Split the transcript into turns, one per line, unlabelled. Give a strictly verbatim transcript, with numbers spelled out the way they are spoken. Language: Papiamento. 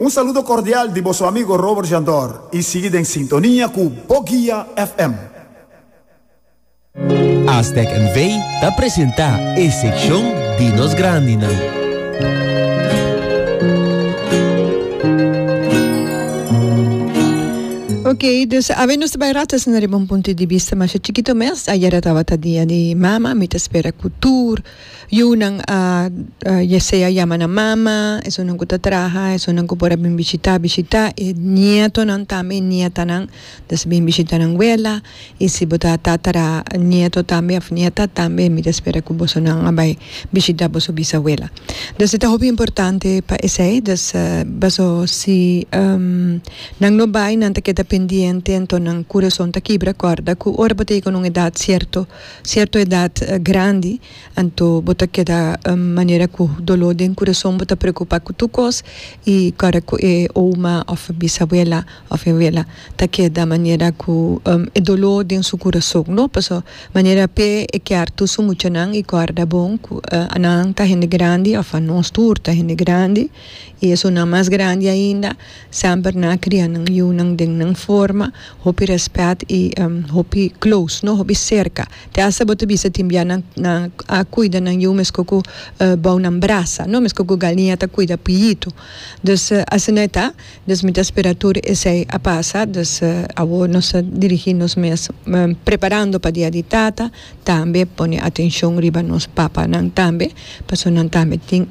Un saludo cordial di boso amigo Robert Jandor y sigui den sintonia cu Bo Guia F M.
Aztec N V ta presenta e seccion di nos grandinan.
Ok, dus awe nos bay rata na riba un punto di bista mas chikito mes. Ayera tabata dia di mama, mi ta spera cu tur yunan a uh, sea yama nan mama, esunnan cu ta traha, esunnan cu por a bin bishita, bishita, e nietonan tambe, nietanan, dus bin bishita nan wela, y si bo ta tatara nieto tambe, of nieta tambe, mi ta spera cu bosonan a bay bishita boso bisawela. Dus e ta hopi importante pa esey, dus uh, baso si um, nan no bay, nan ta keda pendiente, anto nan curason ta kibra. Corda cu ora bo ta cu un edad cierto, cierto edad uh, grandi, anto bo ta keda um, manera cu dolor den curason, bo ta preocupa cu tur cos y cara cu e oma of bisabuela of abuela ta keda manera cu um, e dolor den su curason, no? Paso manera pe e kier tur su muchanan y corda bon cu uh, nan ta hende grandi of nos tur ta hende grandi y esunnan mas grandi ainda semper nan a cria nan yiunan den nan forma hopi respet y um, hopi close, no, hopi cerca. Te hasta bo ta bisa tin bia nan nan a cuida nan yiu mesco cu uh, bou nan brasa, no, mesco cu galiña ta cuida piyito. Dus uh, asina ta, dus mi ta spera tur esey a pasa. Dus uh, awor nos ta dirigi nos mes um, preparando pa dia di tata, tambe pone atencion riba nos papanan tambe, paso nan tambe tin